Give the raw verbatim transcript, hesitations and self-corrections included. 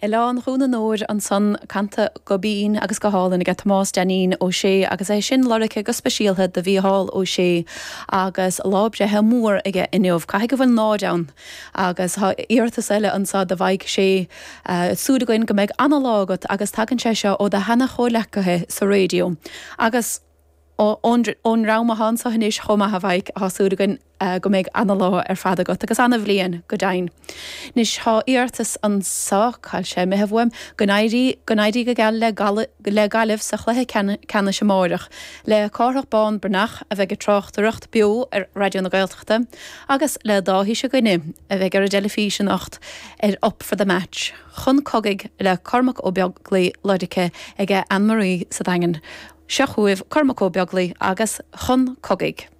Oileán Dhún an Óir ansan canta go binn agus go hálainn aige Tomás Dainín Ó Sé agus é sin lorgtha go speisialta do Mhícheál Ó Sé agus lá breithe mór aige inniu. Caithfidh go bhfuil náid ann agus tá iarratas eile anseo do Mhaidhc Sé súil againn go mbeidh an-lá agat agus tagann sé seo ó do sheana-chomhghleacaithe sa raidió. Agus ón dream atá anseo anois chomh maith a Mhaidhc tá súil againn go mbeidh an-lá ar fad agat agus an-bhliain go deimhin. Anois tá iarratas anseo cá bhfuil sé imithe uaim go n-éirí go n-éirí go geal le le Gaillimh sa chluiche ceannais amárach le Cárthach Bán Breathnach a bheidh ag tráchtaireacht beo ar Raidió na Gaeltachta agus le Dáithí Ó Sé a bheidh ar an dteilifís anocht ar Up for the Match. Chun cogaidh le Cormac Ó Beaglaoich lorgtha ag Anne-Marie sa Daingean. Seo chugaibh Cormac Ó Beaglaoich agus chun cogaidh.